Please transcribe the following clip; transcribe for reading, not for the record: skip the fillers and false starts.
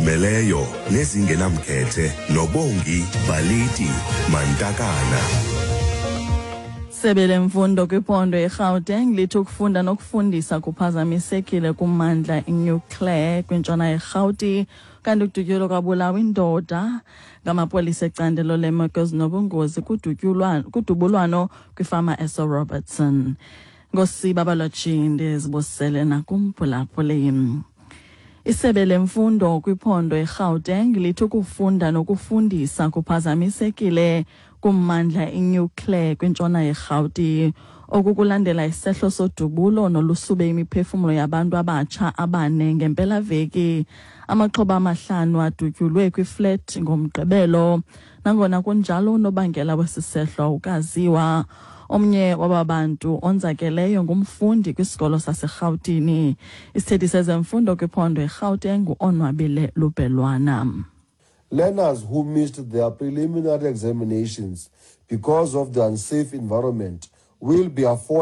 Ezizimeleyo nezingenamkhethe noBongi Baliti Mantakana. Sebe lemfundo kwiphondo iGauteng lithi ukufunda nokufundisa kuphazamisekile kummandla iNew Clare kwintshona yeRhawuti, kanti kudutyulwa kwabulawa indoda ngamapolisa ecandelo leemeko ezinobungozi kudubulwano kwifama eseRobertson. Ngosiba balotshi, ndizibusele nakumphulaphuli. Isebe lemfundo kwiphondo iGauteng lithi ukufunda nokufundisa kuphazamisekile kummandla iNew Clare kwintshona yeRhawuti. Oku kulandela isehlo sodubulo nolusube imiphefumlo yabantu abatsha abane ngempelaveki. Amaxhoba amahlanu adutyulwe kwiflet ngoMgqibelo. Nangona kunjalo, unobangela wesi sehlo awukaziwa. Omnye waba bantu onzakeleyo ngumfundi kwisikolo saseRhawutini. Isithethi sezemfundo kwiphondo iGauteng ngu-Onwabile Lubhelwana. Learners who missed their preliminary examinations because of the unsafe environment will be afforded